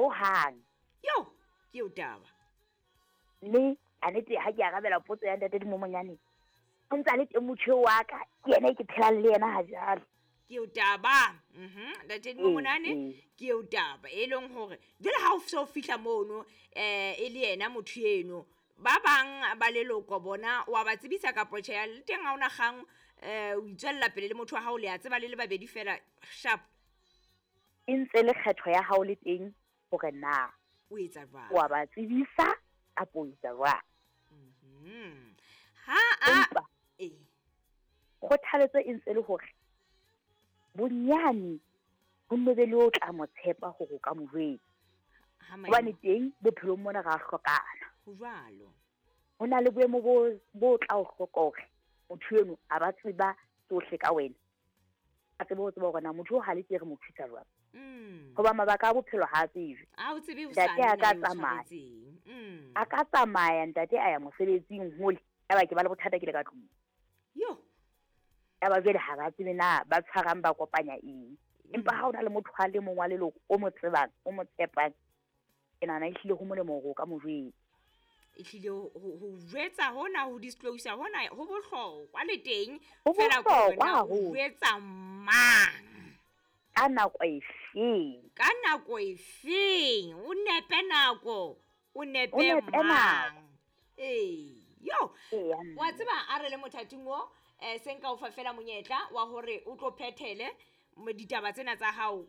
Hohang. Yo, ke eo taba. Mme a nete ha ke arabela potso ya ntate Dimomonyane, o ntse a le teng motho eo wa ka, ke yena e ke phelang le yena ha jwale. Ke eo taba. Ntate Dimomonane, ke eo taba e leng hore jwale ha o so fihla mono e le yena motho eno, ba bang ba leloko bona wa ba tsebisa kapo tjhe, le teng ha ona kgang, o itswella pele le motho wa hao, le a tseba le le babedi fela sharp. E ntse le kgetho ya hao le teng hore na o etsa jwang, wa ba tsebisa kapo o etsa jwang. Ha a Empa kgothaletso e ntse le hore bonyane ho nne be le o tla mo tshepa hore o ka mo jwetsa. Hobane teng bophelong mona ra hlokana. Ho jwalo. Ho na le boemo bo tla o hloka hore motho eno a ba tseba tsohle ka wena. A tsebe ho tseba hore na motho o ha le tse re mo thusa jwang. Hoba mabaka a bophelo ha a tsejwe. A o tsebe ho Ntate sa a ka nna o tsamaya. tshwaretseng. A ka tsamaya ntate a ya mosebetsing hole, yaba ke ba le bothata ke le ka tlung. Yo. Yaba jwale ha ba tsebe na ba tshwarang ba kopanya eng. Empa ha o na le motho a le mong wa leloko o mo tsebang, o mo tshepang, ke nahana ehlile ho molemo hore o ka mo jwetsa. Ehlile ho jwetsa hona, ho disclose hona, ho bohlokwa le teng. Ho Feela ke hore bohlokwa na o haholo. jwetsa mang? Ka nako efeng? Ka nako efeng? O nepe nako, o nepe O nepe nako. mang? Ee, yo. Eya, mme. Wa tseba a re le mothating o, se nka o fa fela monyetla wa hore o tlo phethele ditaba tsena tsa hao,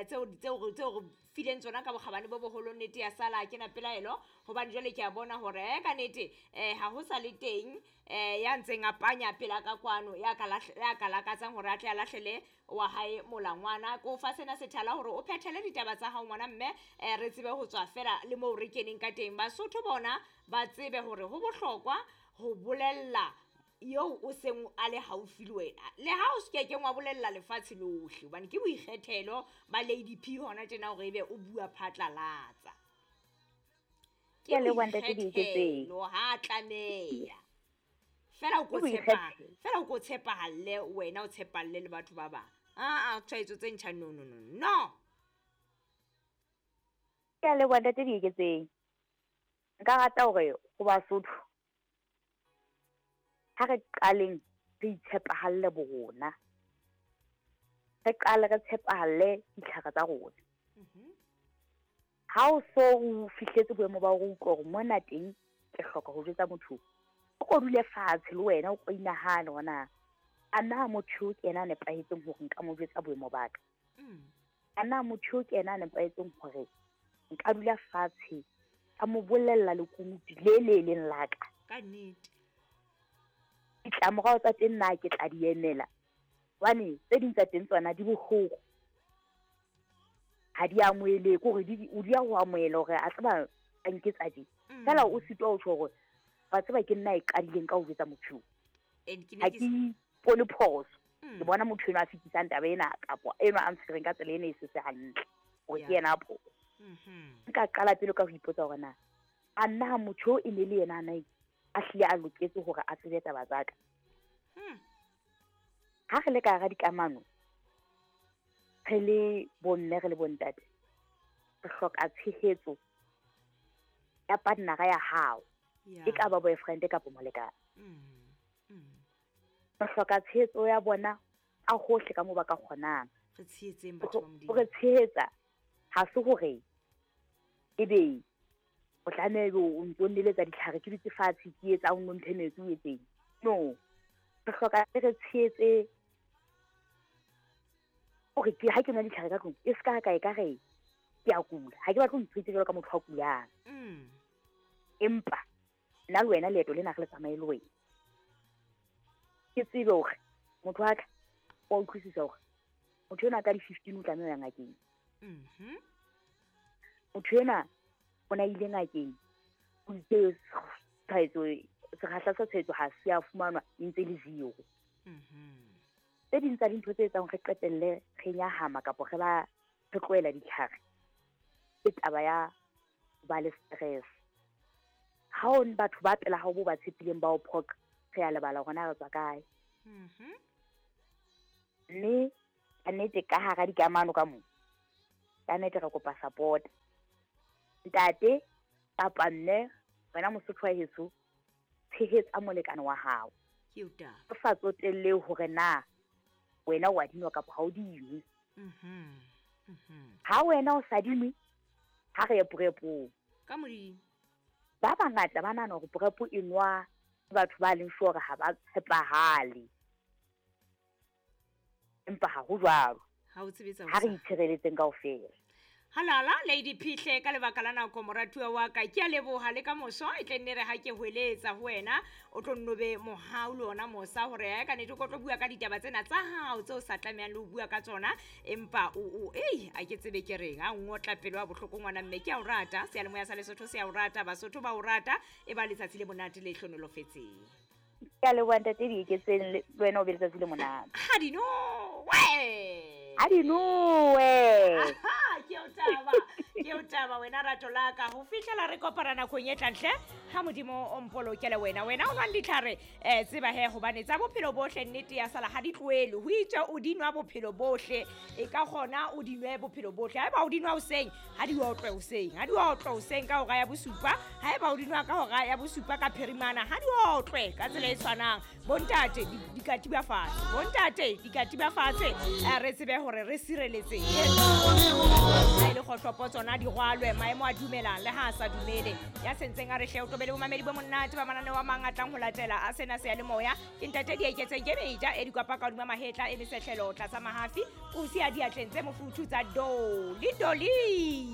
tseo re fileng tsona ka bokgabane bo boholo, nnete ya sala ke na pelaelo, hobane jwale ke a bona hore, ka nnete, ha ho sa le teng, ya ntseng a panya pela ka kwano, ya ka ya ka lakatsang hore a tle a lahlele wa hae molangwana. Ke o fa sena sethala hore o phethele ditaba tsa hao ngwana mme, re tsebe ho tswa fela le moo re keneng ka teng. Basotho bona ba tsebe hore ho bohlokwa ho bolella eo o seng a le haufi le wena, le ha o se kekeng wa bolella lefatshe lohle, hobane ke boikgethelo ba Lady P hona tjena hore ebe o bua phatlalatsa. Ke a leboha ntate Dieketseng. Boikgethelo ha tlameha. Fela o ko Ke tshepa, boikgethelo. fela o ko tshepahalle wena, o tshepalle le batho ba bang. Ah, tshwaetso tse ntjha, no, no, no, no. Ke a leboha ntate Dieketseng. Nka rata hore ho Basotho ha re qaleng re itshepahalle bo rona. Re qale re tshepahalle ditlhare tsa rona. Ha o so o fihletse boemo ba hore o utlwe hore mona teng ke hloka ho jwetsa motho, o ko dule fatshe le wena, o ko inahane hore na a na motho eo ke yena a nepahetseng hore nka mo jwetsa boemo ba ka. A na motho eo ke yena a nepahetseng hore nka dula fatshe ka mo bolella lekunutu le le leng la ka. Ka nnete. Ditlamorao tsa teng na ke tla di emela, hobane tse ding tsa teng tsona di bohloko, ha di amohelehe, ke hore o di ya ho amohela hore a tseba a nketsa tje. Feela o sitwa ho tjho hore wa tseba ke nna e qadileng ka ho jwetsa motho eo. And ke ne Ha ke ke ipone phoso. Mm. Ke bona motho enwa a fetisang taba ena kapa enwa a ntshwereng ka tsela ena e se se hantle, hore ke yena a phoso. Nka qala pele ka ho ipotsa hore na a nna motho eo e ne le yena a na a hlile a loketse hore a tsebe taba tsa ka. Ha re le ka hara dikamano, re le bomme, re le bontate, re hloka tshehetso ya partner-a ya hao. E ka ba boyfriend kapa molekane. Re hloka tshehetso ya bona ka hohle ka moo ba ka kgonang. Re tshehetseng batho ba Modimo. Ho re tshehetsa ha se hore ebe o tlameha ebe o ntso nneletsa ditlhare, ke dutse fatshe, ke etsa, o nno mphe metsi, o etseng. No. Re hloka re tshehetse hore ke ha ke nwa ditlhare ka tlung, e se ka ka e ka re ke a kula. Ha ke batle ho ntshwetse jwalo ka motho a kulang. Empa nna le wena leeto lena re le tsamaye le wena. Ke tsebe hore motho wa ka wa utlwisisa hore motho enwa ka di-15 o tlameha ho ya ngakeng. Motho enwa o na ile ngakeng, o itse tshwaetso, sekgahla sa tshwaetso ha se a fumanwa, e ntse le zero. Tse ding tsa dintho tse etsang re qetelle re nyahama kapa re ba re tlohela ditlhare ke taba ya ho ba le stress. Ha o batho ba pela hao bo ba tshepileng ba o phoqa, re a lebala hore na re tswa kae. Mme ka nnete ka hara dikamano ka moo, ka nnete re kopa support. Ntate kapa mme, wena Mosotho wa heso, tshehetsa molekane wa hao. Ke eo taba. O sa tsotelle hore na wena o a dinwa kapa ha o dinwe. Ha wena o sa dinwe, ha re ye prepong. Ka Modimo. Ba bangata ba nahana hore prep e nwa ke batho ba leng sure hore ha ba tshepahale. Empa ha ho jwalo. Ha o tsebe tsa Ha re hosane. itshireletseng kaofela. Halala Lady Phihle ka lebaka la nako moratuwa wa ka, ke a leboha le ka moso e tle nne re ha ke hweletsa ho wena o tlo nno be mohau le ona mosa hore ya ka nete o tlo bua ka ditaba tsena tsa hao tseo sa tlamehang le ho bua ka tsona, empa o o ei a ke tsebe ke reng a ngotla pelo ya bohloko ngwana mme ke a o rata, seyalemoya sa Lesotho se a o rata, Basotho ba o rata, e ba letsatsi le monate le hlonolofetseng. Ke a leboha ntate Dieketseng, le wena o be letsatsi le monate. Ha di nowe. Ha di nowe. Aha, ke o taba, ke o taba wena rato la ka. Ho fihlela re kopana nakong e tlang hle, ha Modimo o mpolokele wena. Wena o nwang ditlhare, tseba he hobane tsa bophelo bohle nnete ya sala ha di tlohele. Ho itswe o di nwa bophelo bohle, e ka kgona o di nwe bophelo bohle. Haeba o di nwa hoseng, ha di otlwe hoseng. Ha di otlwe hoseng ka hora ya bosupa. Haeba o di nwa ka hora ya bosupa ka phirimana, ha di otlwe ka tsela e tshwanang. Bontate, di katiba fatshe. Bontate, di katiba fatshe. Re tsebe hore re sireletsehile. Ha e le kgohlopo tsona di rwalwe, maemo a dumelang le ha a sa dumele. Ya sentseng a re hle o tobele bomamedi bo monate ba mananeo a mang a tlang ho latela a sena seyalemoya. Ke ntate Dieketseng ke meja e dikwapa ka hodima mahetla e mesehlelo tlasa mahafi, o siya diatleng tse mofuthu tsa Doli Doli.